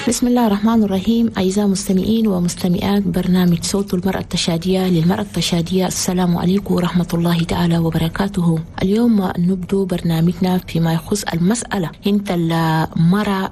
بسم الله الرحمن الرحيم. أعزائي المستمعين ومستمعات برنامج صوت المرأة التشادية للمرأة التشادية، السلام عليكم ورحمة الله تعالى وبركاته. اليوم نبدو برنامجنا فيما يخص المسألة انت المرأة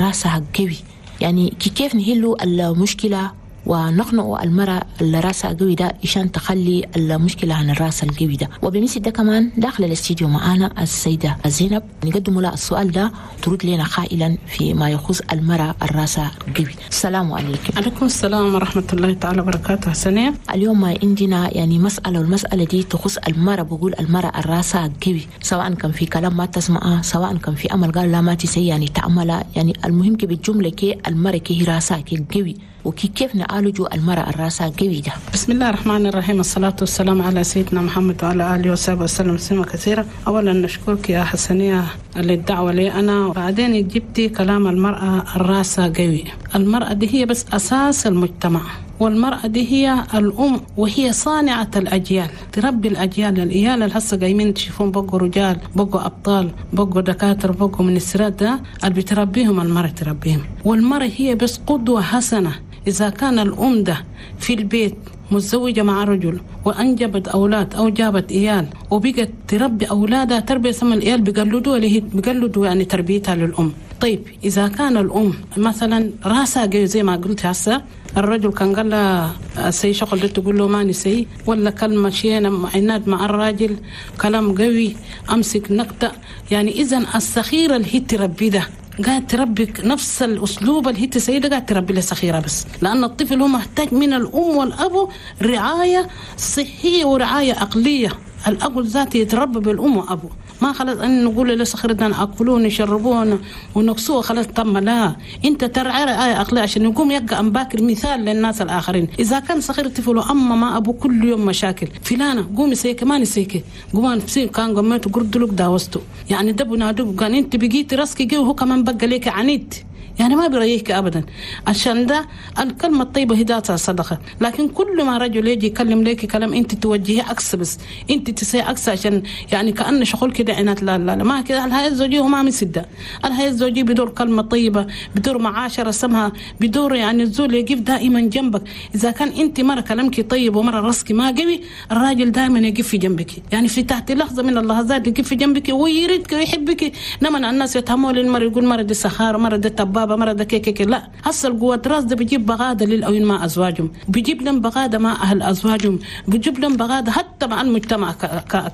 راسها قوي، يعني كيف نحلوا المشكلة ونقنع المرأة اللي راسها قوي ده عشان تخلي المشكلة عن الراس القوي ده. وبمثل ده كمان داخل الاستديو معانا السيدة زينب، نقدم لها السؤال ده ترد لنا قائلا فيما يخص المرأة الراسها قوي. السلام عليكم. عليكم السلام ورحمة الله تعالى وبركاته. حسنية، اليوم عندنا يعني مسألة، والمسألة دي تخص المرأة. بقول المرأة الراسها قوي، سواء كان في كلام ما تسمعه، سواء كان في أمل قال لا ما تسي يعني تعملها، يعني المهم كي بالجملة كي المرأة كي راسها كي قوي، وكي كيف نعالجوا المرأة الراسها قوي ده. بسم الله الرحمن الرحيم، الصلاة والسلام على سيدنا محمد وعلى آله وصحبه وسلم تسليما كثيرا. أولا نشكرك يا حسنية للدعوة لي أنا، وبعدين جبتي كلام المرأة الراسها قوي. المرأة دي هي بس أساس المجتمع، والمرأة دي هي الأم وهي صانعة الأجيال، تربي الأجيال. العيال اللي هسه قايمين تشوفون بقوا رجال، بقوا أبطال، بقوا دكاترة، بقوا منسترات، ده اللي بتربيهم المرأة تربيهم. والمرأة هي بس قدوة حسنة. إذا كان الأم ده في البيت متزوجة مع رجل وأنجبت أولاد أو جابت إيال وبقت تربي أولادها تربية سما، الإيال بيقلدوا اللي هي بيقلدوا يعني تربيتها للأم. طيب إذا كان الأم مثلا راسها قوي زي ما قلت هسه، الرجل كان قال لها سي شغل ده تقول له ما نسي، ولا كلمة شينة عناد مع الراجل، كلام قوي، أمسك نقطة، يعني إذا الصغيرة اللي هي تربي ده قاعد تربي نفس الأسلوب اللي هي تسيده، قاعد تربي له صغيرة بس، لأن الطفل هو محتاج من الأم والأب رعاية صحية ورعاية عقلية. الأب ذاته يتربى بالأم وأبوه، ما خلاص أن نقول له صغيرنا نأكلون نشربون ونكسوه خلاص تم، لا، أنت ترعى رعاية عقلية عشان يقوم يبقى أمباكر مثال للناس الآخرين. إذا كان صغير طفل أما ما أبو كل يوم مشاكل، فلانة قومي سيك ما نسيك، قوم سيك كان قمت قردلك داوستو، يعني دبو نادب كان أنت بقيت راسك جي وهو كمان بقى ليك عنيد، يعني ما بيريحك ابدا. عشان ده الكلمة الطيبة هداتها صدقه، لكن كل ما رجل يجي يكلم لك كلام انت توجهيه عكس، بس انت تسي عكس، عشان يعني كأن شغل كده عناد. لا لا لا، ما كده. الحياة الزوجية هو ما مسده، الحياة الزوجية بدور كلمة طيبة، بدور معاشرة سمها، بدور يعني الزول يقف دائما جنبك. اذا كان انت مرة كلامك طيب ومرة راسك ما قوي، الراجل دائما يقف في جنبك، يعني في تحت لحظة من اللحظات يقف في جنبك ويريدك ويحبك. نما الناس يتهموا للمرة، يقول مرة دي سخاره، مرة دي تباب، مرة ده كيك. لا، هسه القوة راس ده بيجيب بغادة للأوين مع أزواجهم، بيجيب لهم بغادة مع أهل أزواجهم، بيجيب لهم بغادة حتى مع المجتمع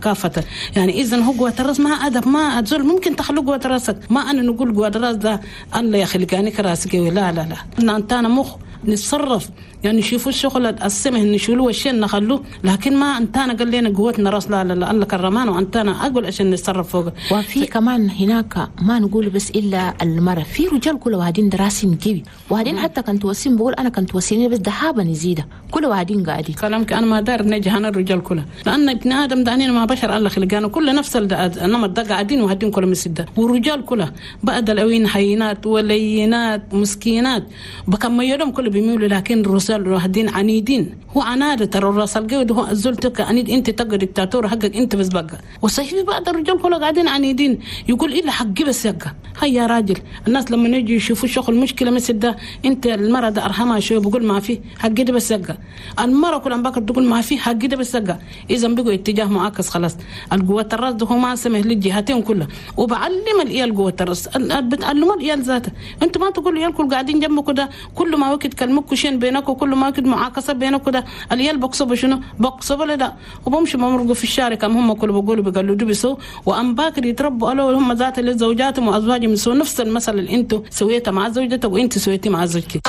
كافة. يعني إذا هو قوة الراس ما أدب ما أزول ممكن تخلو قوة راسك. ما أنا نقول قوة الراس ده الله يخلقاني كراسك، لا لا لا، أنت أنا مخ نتصرف، يعني نشوفوا الشغل السمه نشيلوه والشين نخلوه، لكن ما انتانا قال لنا قوتنا راس، لا لا لا، الله كرمانا وانتانا اقول عشان نتصرف فوق. وفي كمان هناك ما نقول بس الا المرأة، في رجال كل واحدين دراسين قوي، وبعدين حتى كنت وسيم بقول انا كنت وسيني بس دهابا نزيده، كل واحدين قاعدين كلامك. انا ما دار نجي انا الرجال كلها، لان ابن ادم دانين ما بشر الله خلقانا كل نفس النمط ده قاعدين وهدين كل مسده، والرجال كلها بعد الاوين حينات ولينات مسكينات بكم يوم كل بيميلوا، لكن الرسال وهدين عنيدين. هو عنادة ترى الراس القوي هو الزول تبقى عنيد، انت تبقى دكتاتور حقك انت بس بقى. وصحيح في بعض الرجال كلها قاعدين عنيدين، يقول الا حقي بس يبقى. هيا يا راجل، الناس لما يجي يشوفوا شغل مشكلة مثل ده، انت المرأة ده ارحمها شوية، بقول ما في حقي ده بس يبقى. المرأة كل عم بكر تقول ما في حقي ده بس يبقى. اذا بقوا اتجاه معاكس خلاص. القوة الراس ده هو ما سمح للجهتين كلها، وبعلم العيال قوة الراس، بتعلموا العيال ذاته. انت ما تقول العيال كل قاعدين جنبك ده، كل ما وقت كلمك شين بينك وكل ما وقت معاكسة بينك ده، العيال بقصبوا شنو؟ بقصبوا لا، وبمشوا بمرقوا في الشارع كم هم كل بقولوا بيقلدوا بيسوا، وأم باكر يتربوا قالوا هم ذات لزوجاتهم وأزواجهم يسووا نفس المثل اللي انتوا سويته مع زوجتك وانت سويتي مع زوجك.